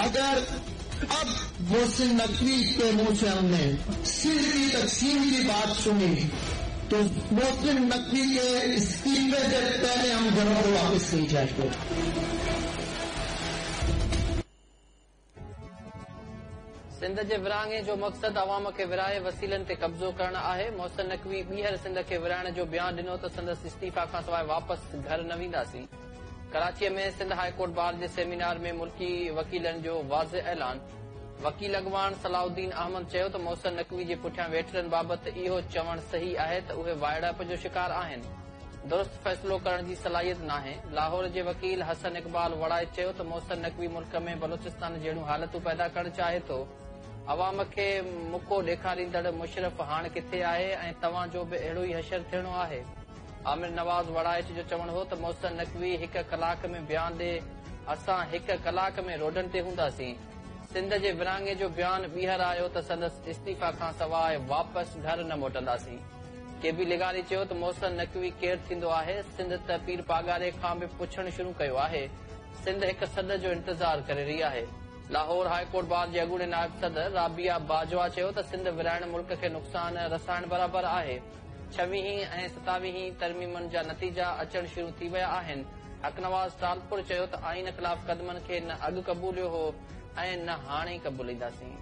अगर अब मोहसिन नकवी के मुंह से हमने सिंध की तकसीम की बात सुनी तो मोहसिन नकवी के इस्तीफे से पहले हम घरों को वापस नहीं जाएंगे। सिंध जे विरहाङे जो मक़सदु अवाम खे विरहाए वसीलनि ते कब्ज़ो करणु आहे। मोहसिन नकवी ॿीहर सिंध खे विरहाइण जो बयान ॾिनो त संदसि इस्तीफ़ा खां सवाइ वापसि घर न वेंदासीं। कराचीअ में सिंध हाईकोर्ट बार जे सेमिनार में मुल्की वकीलनि जो वाज़े ऐलान। वकील अॻवान सलाउद्दीन अहमद चयो त मोहसिन नकवी जे पुठियां वेठलनि बाबति इहो चवणु सही आहे त उहे वाइड़ाइप जो शिकार आहिनि, दुरुस्त फ़ैसिलो करण जी सलाहियत नाहे। लाहौर जे वकील हसन इक़बाल वड़ाइच चयो त मोहसिन नकवी मुल्क में बलोचिस्तान जहिड़ियूं हालतूं पैदा करणु चाहे थो। अवाम खे मुको ॾेखारींदड़ मुशरफ़ हाणे किथे आहे ऐं तव्हांजो बि अहिड़ो ई हशर थियणो आहे। आमिर नवाज़ वड़ाइच जो चवणु हो त मोहसिन नकवी हिकु कलाक में बयान ॾे, असां हिकु कलाक में रोडनि ते हूंदासीं। सिंध जे विरहाङे जो बयान ॿीहर आयो त संदसि इस्तीफ़ा खां सवाइ वापसि घर न मोटंदासीं। के बी लिगारी चयो त मोहसिन नकवी केरु थींदो आहे, सिंध त पीर पागारे खां बि पुछणु शुरू कयो आहे। सिंध हिकु सॾ जो इंतज़ार करे रही आहे। लाहौर हाईकोर्ट बार जे अॻूणे नायब सदर राबिया बाजवा चयो त सिंध विरहाइण मुल्क खे नुक़सान रसाइण बराबरि आहे। 26वीं ऐं 27वीं तरमीमनि जा नतीजा अचणु शुरू थी विया आहिनि। हक़ नवाज़ टालपुर चयो त आइन ख़िलाफ़ क़दमनि खे न अॻु क़बूलियो हो ऐं न हाणे क़बूलींदासीं।